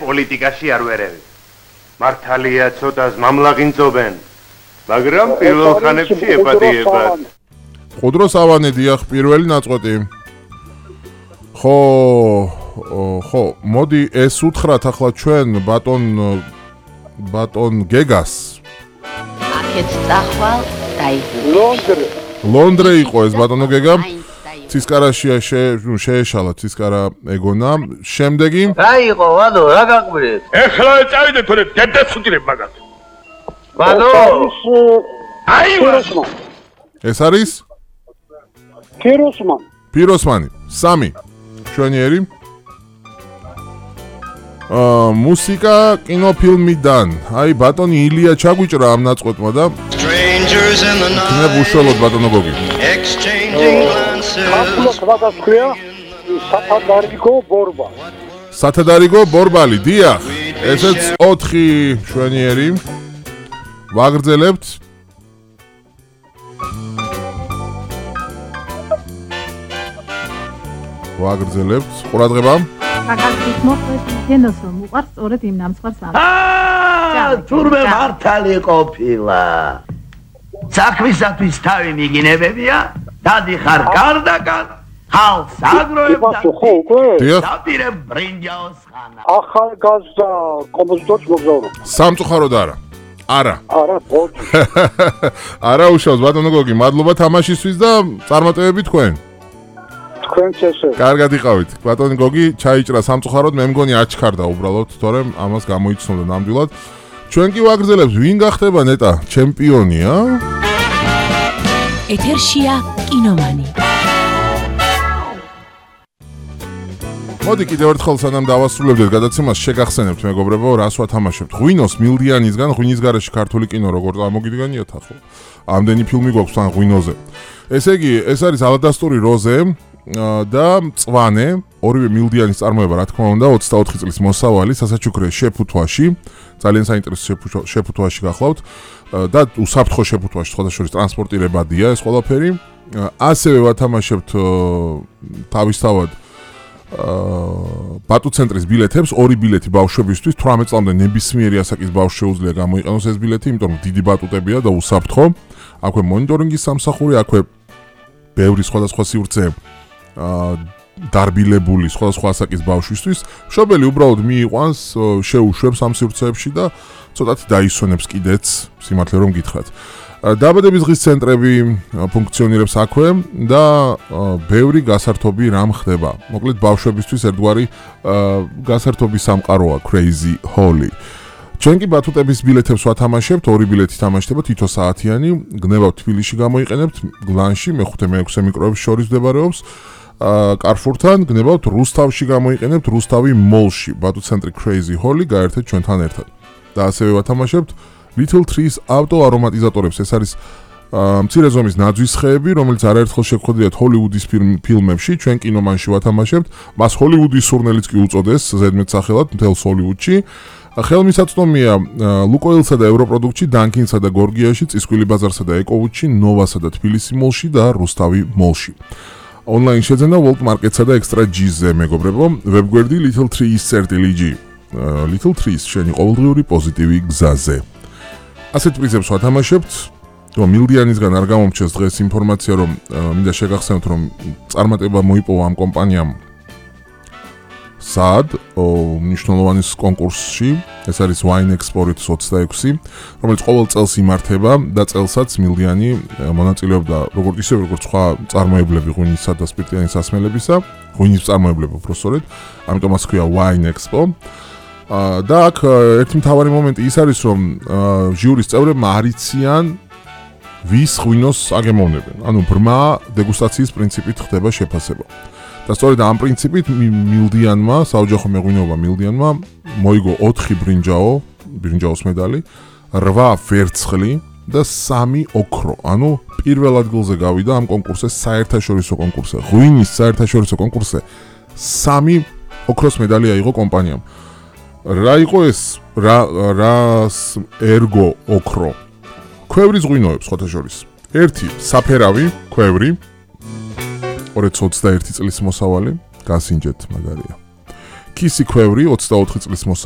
პოლიტიკაში არ ვერევი. მართალია ცოტას მამლაღინწობენ, მაგრამ პირველ ხანებში ეპატიებად. ხუდროს ავანე დიახ პირველი ნაწყვეტი. ხო, მოდი ეს უთხრათ ახლა ჩვენ ბატონ გეგას. აქეთ წახვალ ლონდრე. ლონდრე იყო ეს ბატონო გეგა. ცისკარაშია შეეშალა ცისკარა ეგონა. შემდეგი რა იყო ვადო რა გაყვირეთ? ეხლა წავიდე თორე დედას უთირებ მაგათ. ვადო აი ეს არის ფიროსმანი 3 შვენიერი მუსიკა კინოფილმიდან აი ბატონი ილია ჩაგვიჭრა ამ ნაწყვეტმა და ნებ უშუალოდ ბატონო გოგი სათადარიგო ბორბალი დიახ ესეც 4 შვენიერი ვაგრძელებთ ყურადღება კაკალის მოყვეს თენოს რომ უყარს სწორედ იმ ნამსხვრს თურმე მართალი ყოფილა საქმისათვის თავი მიგინებებია დადიხარ გარდაკარ ხალხს აგროებ და დაპირებ ბრინჯაოს ხანა ახალგაზრდა კომპოზიტორს მოგზაურო სამწუხაროდ არა არა უშავს ბატონო გოგი მადლობა თამაშისთვის და წარმატებები თქვენ კარგად იყავით ბატონი გოგი ჩაიჭრა სამწუხაროდ მე მგონი აჩქარდა უბრალოდ თორემ ამას გამოიცნობდა ნამდვილად ჩვენ კი ვაგრძელებთ ვინ გახდება ნეტა ჩემპიონია ეთერშია კინომანი მოდი კიდევ ერთხელ სანამ დავასრულებდეთ გადაცემას შეგახსენებთ მეგობრებო რას ვათამაშებთ ღვინოს მილდიანისგან ღვინის გარეშე ქართული კინო როგორ წარმოგიდგენიათ ახლა ამდენი ფილმი გვაქვს თან ღვინოზე ესე იგი ეს არის ალადასტური როზე და მწვანე ორივე მილდიანის წარმოება რა თქმა უნდა 24 წლის მოსავალი სასაჩუქრე შეფუთვაში ძალიან საინტერესო შეფუთვაში გახლავთ და უსაფრთხო შეფუთვაში სხვადასხვა ტრანსპორტირებადია ეს ყველაფერი ასევე ვათამაშებთ თავისთავად ბატუ ცენტრის ბილეთებს ორი ბილეთი ბავშვებისთვის 18 წლამდე ნებისმიერი ასაკის ბავშვს შეუძლია გამოიყენოს ეს ბილეთი იმიტომ რომ დიდი ბატუტებია და უსაფრთხო აქვე მონიტორინგის სამსახური აქვე ბევრი სხვადასხვა სივრცე დარბილებული სხვადასხვა ასაკის ბავშვისთვის მშობელი უბრალოდ მიიყვანს შეუშვებს ამ სივრცეებში და ცოტათი დაისვენებს კიდეც სიმართლე რომ გითხრათ დაბადების დღის ცენტრები ფუნქციონირებს აქვე და ბევრი გასართობი რამ ხდება მოკლედ ბავშვებისთვის ერთგვარი გასართობის სამყაროა Crazy Holly ჩვენ კი ბათუტების ბილეთებს ვათამაშებთ ორი ბილეთი თამაშდება თითო საათიანი გნებავთ თბილისში გამოიყენებთ გლანში მე-5 მე-6 მიკროების შორის მდებარეობს კარფურთან გნებავთ რუსთავში გამოიყენებთ რუსთავი მოლში ბათუ ცენტრი Crazy Holly გაერთეთ ჩვენთან ერთად და ასევე ვათამაშებთ Little Trees auto არომატიზატორებს ეს არის მცირე ზომის ნაძვის ხეები რომელიც არაერთხელ შეგხვედრიათ ჰოლივუდის ფილმებში ჩვენ კინომანში ვათამაშებთ მას ჰოლივუდის სურნელიც კი უწოდეს ზედმეტ სახელად მთელს ჰოლივუდში ხელმისაწვდომია ლუკოილსა და ევროპროდუქტში დანკინსა და გორგიაში წისქვილი ბაზარსა და ეკოვუდში ნოვასა და თბილისი მოლში და რუსთავი მოლში ონლაინ შეძენა World Market-სა და Extra G-ზე მეგობრებო ვებგვერდი Little Trees.lg Little Trees შენი ყოველდღიური პოზიტივი გზაზე ასეთ პრიზებს ვათამაშებთ რომ მილდიანისგან არ გამომჩეს დღეს ინფორმაცია რომ მინდა შეგახსენოთ რომ წარმატება მოიპოვა ამ კომპანიამ სად მნიშვნელოვანი კონკურსში ეს არის Wine Export 26 რომელიც ყოველ წელს იმართება და წელსაც მილდიანი მონაწილეობდა როგორც სხვა წარმოებლები ღვინისა და სპირტიანი სასმელებისა ღვინის წარმოებლები უბრალოდ ამიტომ მას ქვია Wine Expo და აქ ერთი მთავარი მომენტი ის არის რომ ჟიურის წევრებმა არიციან ვის ღვინოს აგემოვნებენ ანუ ბრმა დეგუსტაციის პრინციპით ხდება შეფასება და სწორედ ამ პრინციპით მილდიანმა საოჯახო მეღვინეობა მილდიანმა მოიგო 4 ბრინჯაოს медали 8 ვერცხლი და 3 ოქრო ანუ პირველ ადგილზე გავიდა ამ კონკურსზე საერთაშორისო კონკურსზე ღვინის საერთაშორისო კონკურსზე 3 ოქროს медали აიღო კომპანიამ რა იყო ეს რას ერგო ოქრო ქვევრის ღვინოებს ხოთა შორის ერთი საფერავი ქვევრი 221 წლის მოსავალი გასინჯეთ მაგარია კისი ქვევრი 24 წლის მოსავალს